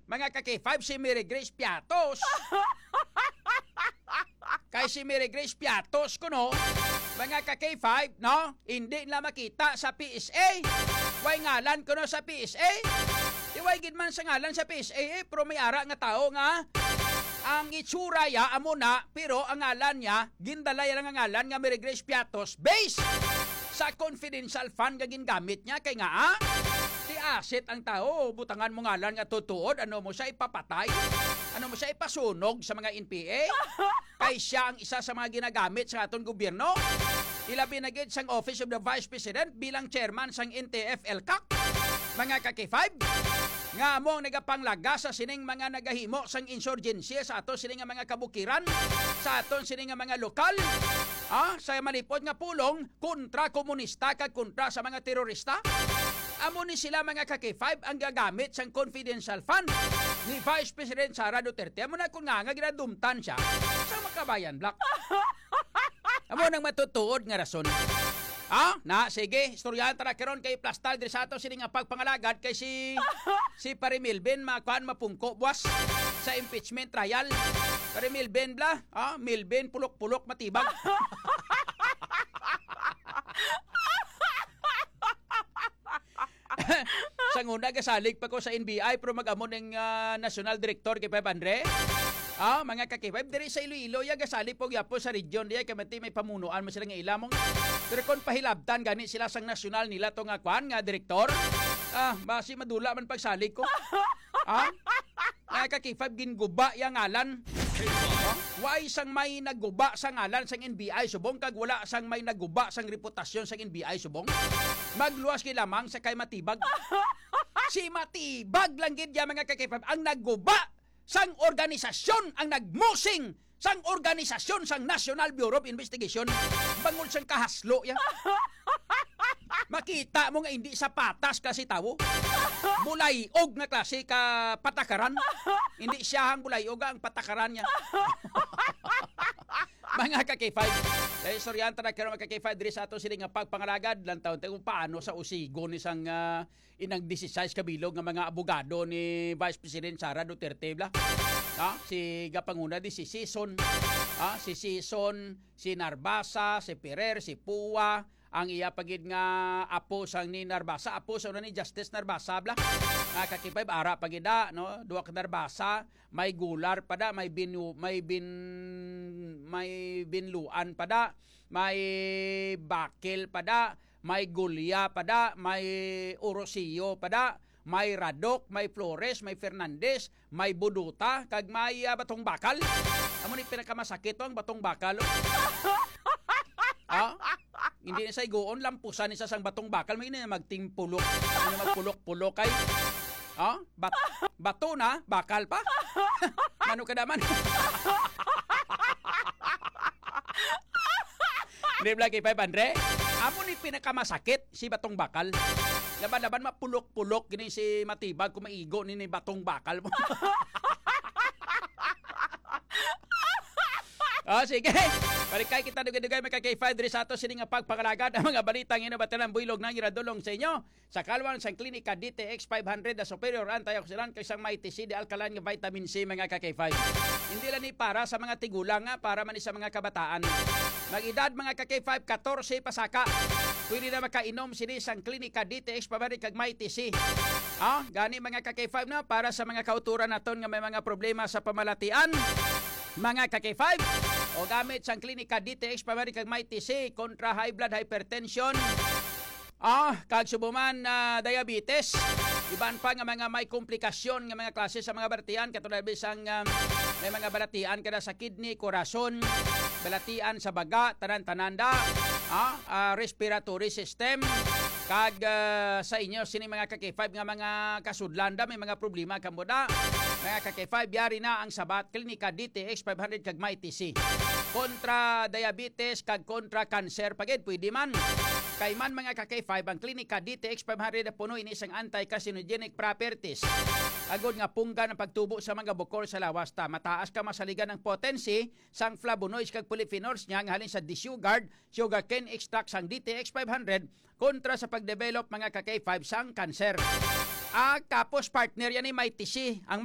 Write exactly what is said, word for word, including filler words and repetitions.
Mga ka-K five, si Mary Grace Piatos. Kay si Mary Grace Piatos kuno, mga ka-K five, no? Hindi na makita sa P S A. Way ngalan kuno sa P S A. Di way gid man sa ngalan sa P S A, eh, pero may ara nga tao nga ang itsura ya amo na, pero ang ngalan niya, gindala ya lang ang ngalan nga Mary Grace Piatos based sa confidential fund nga gingamit niya. Kay nga, ah, ti asset ang tao, butangan mo ngalan nga tutuod, ano mo siya ipapatay? Ano mo siya ipasunog sa mga N P A? Kay siya ang isa sa mga ginagamit sa aton gobyerno. Ilabi na gid sang Office of the Vice President bilang chairman sang N T F-ELCAC. Mga ka-K five, nga amo ang nagapanglaga sa sining mga nagahimo sang insurgency sa ato sini nga mga kabukiran, sa aton sini nga mga lokal, ah, sa malipot nga pulong kontra komunista kag kontra sa mga terorista. Amo ni sila, mga ka-K five, ang gagamit sang confidential fund ni Vice President Sara Duterte. Amo na kung nga, nga ginadumtan siya sa Makabayan Block. Amo nang matutuod nga rason. Ah, na, sige, istoryahan ta na karon kay plastar diri sa ato sini nga pagpangalagad kay si, si Pare Milben, makuan, mapungko buwas sa impeachment trial. Pare Milben bla, ah, Milben pulok-pulok matibag. Sang una, gasalig pa ko sa N B I, pero mag-amo ning, ah, national director kay Pep Andre. Ah, mga ka-K five, diri sa Iloilo, ya, gasalig po gyapon sa region diya, kay mati may pamunuan mo sila nga ilamong. Pero kung pahilabtan gani sila sang nasyonal nila to nga kwan, nga direktor, ah, basi madula man pagsalig ko. Ah? Mga ka-K five, ginguba ya ngalan. Why sang may nagguba sa ngalan sang N B I subong kag wala sang may nagguba sang reputasyon sang N B I subong? Magluwas kay lamang sa kay Matibag. Si Matibag lang gid ya, mga ka-K five, ang nagguba sang organisasyon, ang nagmusing sang organisasyon sang National Bureau of Investigation. Bangod sang kahaslo ya. Makita mo nga hindi sa patas klase tawo. Bulay-og nga klase ka patakaran. Hindi siya ang bulay-og, ang patakaran niya. Mga ka-K five, kay istoryahan ta na karon, mga ka-K five, diri sa ato sini nga pagpangalagad, lantaw ta kung paano sa usigon ni sang, ah, inang disisais ka bilog nga mga abogado ni Vice President Sara Duterte bla. Ha? Si gapanguna di si Sison, ha? Si Sison, si Narbasa, si Perer, si Pua, ang iya pa gid nga apo sang ni Narbasa, apo sa una ni Justice Narbasa bla. Ah, ka-K five, ara pa gid da, no? Duha ka Narbasa, may Gular pa da, may Binu-, may Bin-, may Binluan pa da, may Bakil pa da, may Gulya pa da, may Orosio pa da, may Radok, may Flores, may Fernandez, may Buduta, kag may, ah, Batong Bakal. Amo ni pinakamasakit to, ang Batong Bakal, oh. Ha? Hindi na sa igoon, lampusan ni sa sang Batong Bakal, may na magtimpulok. Ano magpulok-pulok kay? Ha? Bat-, bato na, bakal pa? Ano ka naman? Di ba, kay five hundred? Amo ni pinakamasakit, si Batong Bakal. Laban-laban, mapulok-pulok gini si Matibag kung maigo ni, ni Batong Bakal mo. Oh, sige. Balik kay kita dugay-dugay, mga ka-K five, diri sa ato sini nga pagpangalagad ang mga balita nga inabatiran buylog na giradulong sa inyo sa kalwan sang Klinika D T X five hundred, the superior antioxidant kag sang Mighty C, the alkaline nga vitamin C, mga ka-K five. Hindi lang ni para sa mga tigulang, nga para man ni sa mga kabataan. Mag-edad, mga ka-K five, katorse pasaka. Pwede na makainom sini sang Klinika D T X five hundred kag Mighty C. Ah, gani, mga ka-K five, no, para sa mga kauturan naton nga may mga problema sa pamalatian, mga ka-K five, o gamit sang Klinika D T X five hundred kag Mighty C kontra high blood, hypertension, ah, kag subo man, ah, diabetes. Iban pa nga mga may komplikasyon nga mga klase sa mga balatian, katulad bisang, ah, may mga balatian kada sa kidney, korason, balatian sa baga, tanan-tanan da, ah, ah, respiratory system, kag, ah, sa inyo sini, mga ka-K five, nga mga kasudlan da, may mga problema kamo da, mga ka-K five, yari na ang sabat, Klinika D T X five hundred kag Mighty C. Kontra diabetes kag kontra cancer pa gid, pwede man. Kay man, mga ka-K five, ang Klinika D T X five hundred puno ini sang anti-carcinogenic properties. Agod nga punggan ang pagtubo sa mga bukol sa lawas ta. Mataas ka masaligan ang potency sang flavonoids kag polyphenols niya nga halin sa desugared sugarcane extract sang D T X five hundred kontra sa pagdevelop, mga ka-K five, sang cancer. Ah, tapos partner yan ni Mighty C. Ang